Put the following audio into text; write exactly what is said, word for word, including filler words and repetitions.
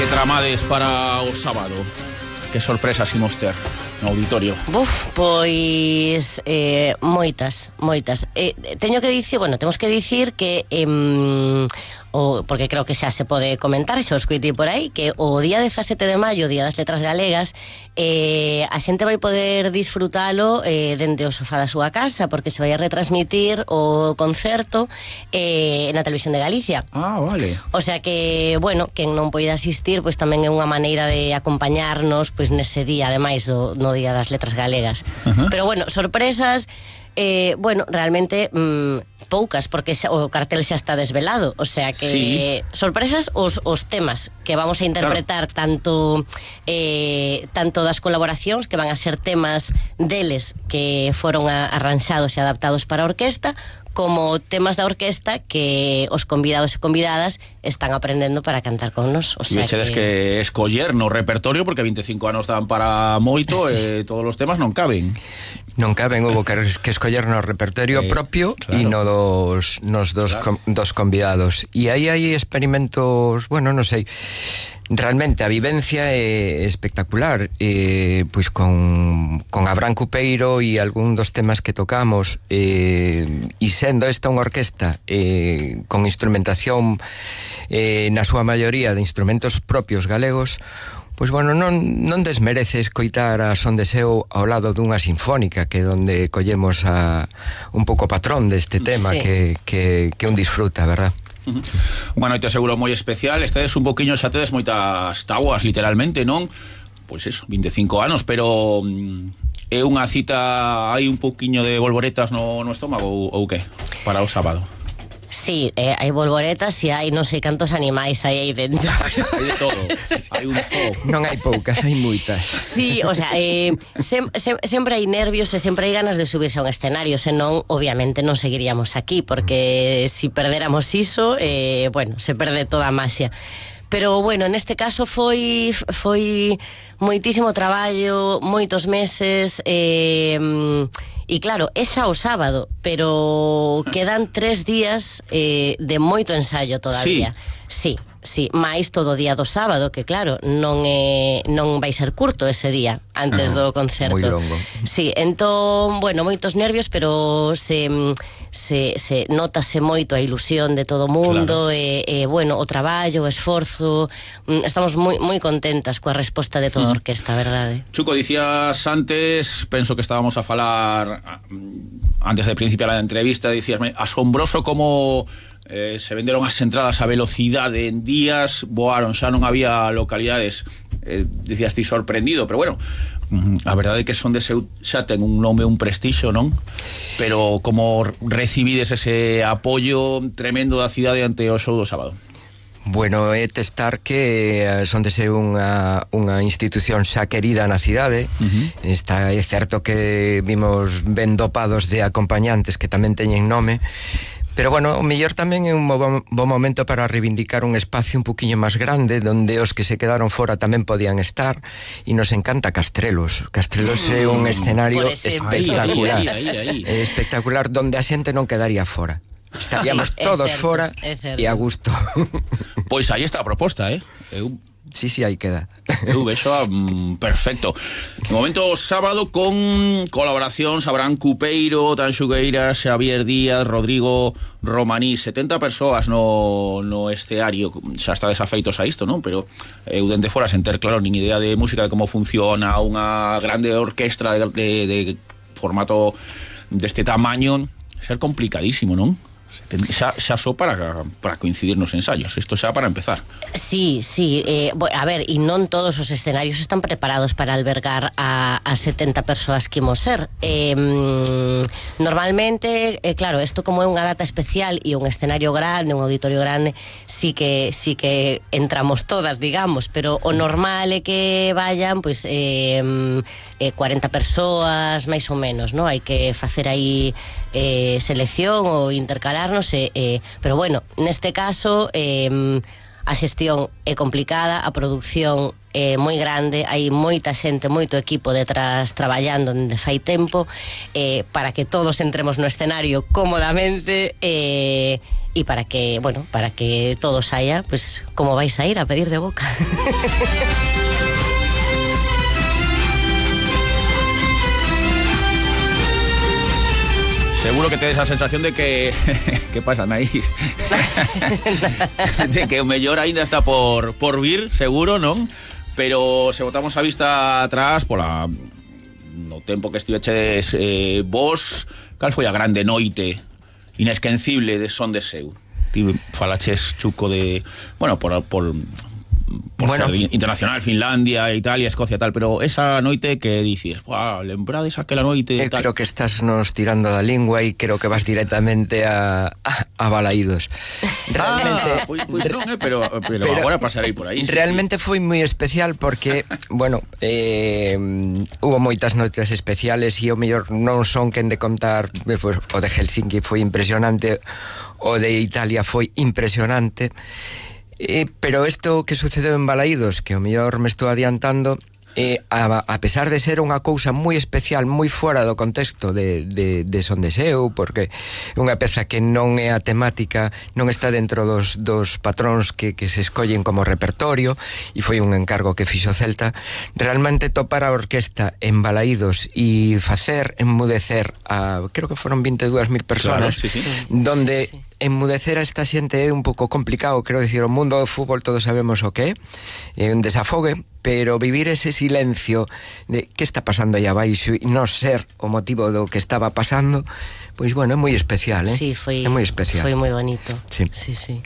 que tramades para o sábado? Que sorpresas imos ter no auditorio? Buf, pois eh, moitas, moitas. Eh, teño que dicir, bueno, temos que dicir que eh, o, porque creo que xa se pode comentar, xa os coitei por aí, que o día dezasete de maio, Día das Letras Galegas, eh, a xente vai poder disfrutalo eh, dende o sofá da súa casa, porque se vai a retransmitir o concerto eh, na Televisión de Galicia. Ah, vale. O sea que, bueno, quen non poida asistir, pois tamén é unha maneira de acompañarnos pois nese día, ademais do no Día das Letras Galegas. Uh-huh. Pero bueno, sorpresas, eh, bueno, realmente mmm, poucas, porque xa, o cartel xa está desvelado, o sea que sí. Sorpresas os, os temas que vamos a interpretar, claro. tanto eh, tanto das colaboracións, que van a ser temas deles que foron a, arranxados e adaptados para a orquesta, como temas da orquesta que os convidados e convidadas están aprendendo para cantar con nos. O sea, e chedes que... que escoller no repertorio, porque vinte e cinco anos dan para moito, sí. E todos os temas non caben. Non caben, houve que, que escoller no repertorio eh, propio e claro. no dos, nos dos, claro. com, dos convidados. E aí hai experimentos, bueno, non sei, realmente a vivencia é espectacular, eh, pois con, con Abraham Cupeiro e algún dos temas que tocamos, eh, e sendo esta unha orquesta eh, con instrumentación eh, na súa maioría de instrumentos propios galegos, pois bueno, non, non desmerece escoitar a Son de Seo ao lado dunha sinfónica, que é onde collemos a, un pouco patrón deste tema, sí. que, que, que un disfruta, verdad? Uh-huh. Unha noite seguro moi especial. Estades un poquinho, xa tedes moitas tabuas, literalmente, non? Pois eso, vinte e cinco anos, pero mm, é unha cita, hai un poquinho de volvoretas no, no estómago ou, ou que? Para o sábado. Sí, eh, hai volvoretas e hai non sei cantos animais hai aí dentro. Hai de todo, hai un zoo. Non hai poucas, hai moitas. Sí, o sea, eh, sem, sem, sempre hai nervios e sempre hai ganas de subirse a un escenario, senón, obviamente, non seguiríamos aquí, porque si perderamos iso, eh, bueno, se perde toda a maxia. Pero, bueno, neste caso foi foi moitísimo traballo, moitos meses, eh, e claro, é xa o sábado, pero quedan tres días eh, de moito ensayo todavía. Sí, sí, máis todo o día do sábado, que claro, non é, non vai ser curto ese día antes do concerto. Moi longo. Sí, entón, bueno, moitos nervios, pero se se, se notase moito a ilusión de todo o mundo, claro. e, e bueno, o traballo, o esforzo, estamos moi moi contentas coa resposta de toda a orquesta, verdade. Chuco, dicías antes, penso que estábamos a falar antes de principiar a entrevista, dicíasme, asombroso como eh, se venderon as entradas a velocidade en días, voaron, xa non había localidades, eh, dicías ti sorprendido, pero bueno, a verdade é que Son de Seo xa ten un nome, un prestixio, non? Pero como recibides ese apoio tremendo da cidade ante o show do sábado? Bueno, é testar que Son de Seo unha, unha institución xa querida na cidade. Uh-huh. Está, é certo que vimos ben dopados de acompañantes que tamén teñen nome, pero bueno, o mellor tamén é un bo, bo momento para reivindicar un espacio un poquinho máis grande, donde os que se quedaron fora tamén podían estar, e nos encanta Castrelos. Castrelos é un escenario espectacular, ahí, ahí, ahí, ahí. espectacular, donde a xente non quedaría fora. Estaríamos sí, todos certo, fora e a gusto. Pois aí está a proposta, eh? Eu... Sí, sí, aí queda. Eu vexo mm, perfecto. De momento, sábado, con colaboracións Abraham Cupeiro, Tan Xugueira, Xavier Díaz, Rodrigo Romaní, setenta persoas no, no esteario. Xa está desafeitos a isto, non? Pero eu dende fora sen ter, claro, nin idea de música, de como funciona unha grande orquestra de, de, de formato deste tamaño, ser complicadísimo, non? Xa, xa só para, para coincidir nos ensaios. Isto xa para empezar. Sí, sí, eh, a ver, e non todos os escenarios están preparados para albergar a, a setenta persoas que imos ser. eh, Normalmente, eh, claro, isto como é unha data especial e un escenario grande, un auditorio grande, sí que, sí que entramos todas, digamos, pero o normal é que vayan pois eh, eh, cuarenta persoas, máis ou menos, non? Hai que facer aí eh, selección ou intercalarnos, eh, eh, pero bueno, neste caso eh, a xestión é complicada, a produción é moi grande, hai moita xente, moito equipo detrás traballando dende fai tempo, eh, para que todos entremos no escenario cómodamente, eh, e para que, bueno, para que todo saia, pues, como vais a ir a pedir de boca. Seguro que tedes a sensación de que que pasa, Anaís? De que o mellor aínda está por por vir, seguro, non? Pero se botamos a vista atrás pola no tempo que estiveches eh, vos, cal foi a grande noite inesquecible de Son de Seu? Ti falaches, Chuco, de, bueno, por por por bueno, ser internacional, Finlandia, Italia, Escocia, tal, pero esa noite que dices, wow, lembrades aquela noite eh, tal. Creo que estás nos tirando da lingua e creo que vas directamente a, a, a Balaídos. Realmente, ah, pues, pues non, eh, pero, pero, pero agora pasarei por aí. Realmente sí, sí. foi moi especial porque, bueno, eh, hubo moitas noites especiales e o mellor non son quen de contar, pues, o de Helsinki foi impresionante, o de Italia foi impresionante. Eh, pero isto que sucedeu en Balaídos, que o mellor me estou adiantando, eh, a, a pesar de ser unha cousa moi especial, moi fora do contexto de, de, de Son de Seu, porque é unha peza que non é a temática, non está dentro dos, dos patróns que, que se escollen como repertorio, e foi un encargo que fixo Celta, realmente topar a orquesta en Balaídos e facer enmudecer a, creo que foron vinte e dúas mil personas, claro, sí, sí. donde sí, sí. enmudecer a esta xente é un pouco complicado, quero dicir, o mundo do fútbol todos sabemos o que é, é un desafogue, pero vivir ese silencio de que está pasando aí abaixo e non ser o motivo do que estaba pasando, pois bueno, é moi especial, eh? Sí, foi, é moi especial. Foi moi bonito. Sí. Sí, sí.